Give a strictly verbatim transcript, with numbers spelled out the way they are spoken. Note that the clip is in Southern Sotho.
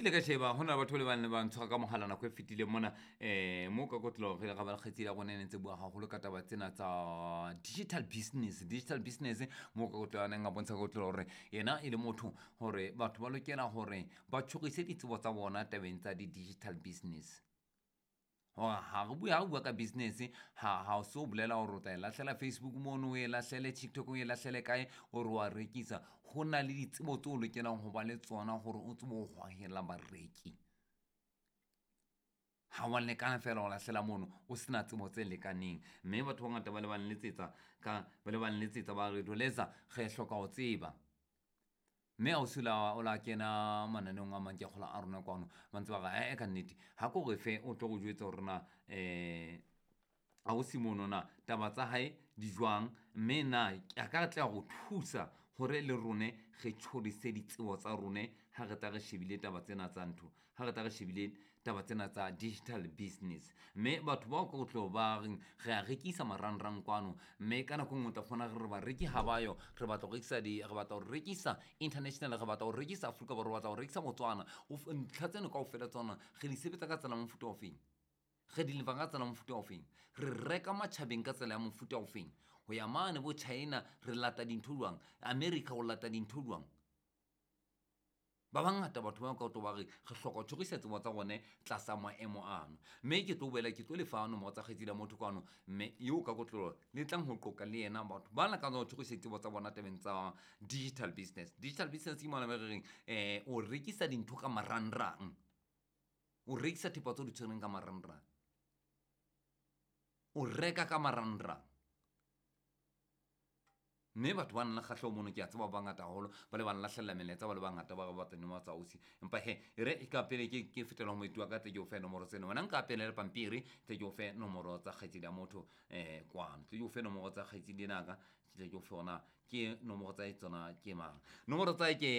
Nna ke ile ka sheba ho na le batho ba le bang le ba ntshwara ka mohala nako e fetileng mona um mo ka kotlo re ile ra ba le kgaitsedi ya rona e ne ntse bua haholo ka taba tsena tsa digital business. Digital business mo ka kotlo a neng a bontsha ka kotlo hore yena e le motho hore batho ba lokela hore ba tjhorise ditsebo tsa bona tabeng tsa di-digital business. Hore ha re bua ha re bua ka business ha ha o so bolela hore o tla e lahlela Facebook mono, o e lahlele TikTok, o e lahlele kae, o re wa rekisa. Ho na le ditsebo tseo o lokelang ho ba le tsona hore o tsebe ho hohela bareki. Ha wa lekana feela ho lahlela mono o sena tsebo tse lekaneng. Mme batho ba bangata ba le ba nletsetsa ka ba le ba nletsetsa ba re Lweleza re hloka ho tseba. Mme ausi o la o la kena mananeong a mang ke a kgolwa a rona kwano ba ntse ba re ae ka nnete ha ko re fe o tlo re jwetsa hore na um ausi mono na taba tsa hae di jwang, mme na a ka tla re thusa hore le rone re tjhorise ditsebo tsa rone ha re tla re shebile taba tsena tsa ntho, ha re tla re shebile taba tsena tsa digital business. Mme batho bao ka tlo ba reng re a rekisa marangrang kwano, mme ka nako e nngwe o tla fumana re re bareki ha ba yo, re batla ho rekisa di re batla ho rekisa international, re batla ho rekisa Afrika Borwa, re batla ho rekisa Botswana. Ntlha tseno kaofela tsona re di sebetsa ka tsela ya mofuta ofeng, re di lefa ka tsela ya mofuta ofeng, re reka matjhabeng ka tsela ya mofuta ofeng, ho ya mane bo China re lata dintho jwang, America o lata dintho jwang. Ba bangata batho ba ka tlo ba re re hloka ho tjhorisa tsebo tsa rone tlasa maemo ano. Mme ke tlo boela ke tlo lefa nomoro tsa kgaitsedi ya motho kwano, mme eo ka kotloloho le tlang ho qoqa le yena batho ba lakatsang ho tjhorisa ditsebo tsa bona tabeng tsa digital business. Digital business ke mona mo re reng um o rekisa dintho ka marangrang, o rekisa thepa tseo di tshwereng ka marangrang, o reka ka marangrang. Mme batho ba nang le kgahleho mono ke a tseba ba bangata haholo ba le ba nlahlella melaetsa ba le bangata ba re batla dinomoro tsa ausi. Empa hee e re ka pele ke ke fetela ho moeti wa ka tle ke o fe nomoro tseno. Wena nka pele le pampiri tle ke o fe nomoro tsa kgaitsedi ya motho um kwano. Tle ke o fe nomoro tsa kgaitsedi ena ka, tle ke o fe hona ke nomoro tsa tsona ke mang. Nomoro tsa hae ke